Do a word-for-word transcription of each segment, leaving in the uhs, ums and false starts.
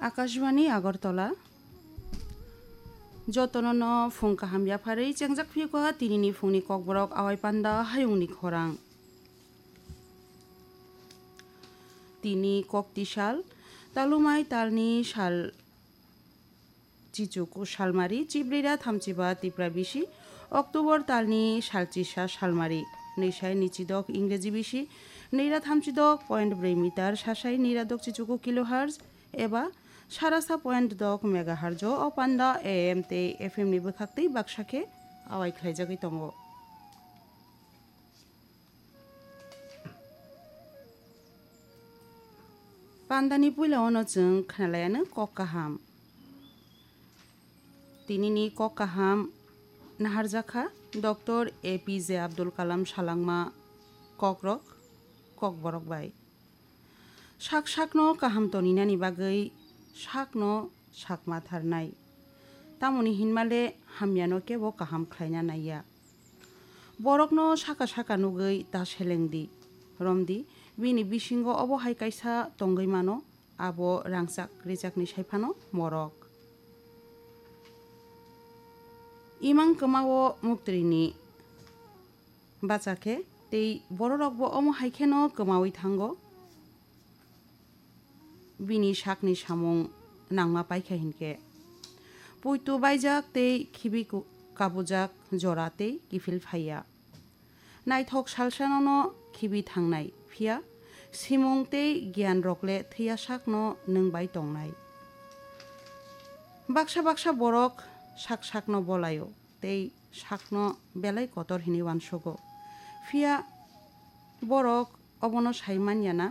Akashbani Agartala. Jotono no phung kaham yapharwi chengjak phiyokha tinini phungni kokborok awai panda hayungni khorang. Tini kokti sal, talumai talni sal chichuku salmari, chibrira thamchiba tipra bisi, October talni salchisa salmari, nwisai nichidok Ingreji bisi, nira thamchidok point brwi meter, sasai nira dok chichuku kilohertz, eba sarasa point dok megahertz o panda A M tei F M ni bwkhak tei baksa khe awai khlaijagwi tongo. Pandani puila ono chwng khnalaiano kok kaham. Tinini kok kaham naharjakha Doctor A P J Abdul Kalam salangma kokrok, kokborok bai. Sak sakno kaham toninani bagwi sakno sakma tharnai. Tamoni hinmale hamyano kebo kaham khlaina naiya. Borokno saka saka nugwi ta selengdi, romdi, bini bisingo obo hai kaisa tongwi mano, abo rangchak rechakni saiphano morok. Imang kwmao muktrini bacha khe tei bororokbo omo hai kheno kwmawi thango. Bini sakni samung nangma paikha hinkhe, puitu baijak tei khibi ku-, kabujak jora tei kiphil phaiya. Naithok salsanono khibi thangnai, phiya simung tei giyan rokle thwiya sakno nwng bai tongnai. Baksa baksa borok sak sakno bolaio tei sakno belai kotor hinwi uansugo. Phiya borok obono sai manya na?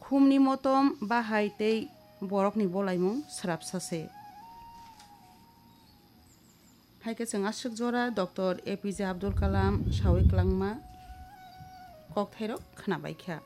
Khumni motom, bahai tei borokni bolaimung swrapsa se. Hai khe chwng aswk jora Doctor A P J Abdul Kalam sawi kwlangma kokthairok khwnabai kha.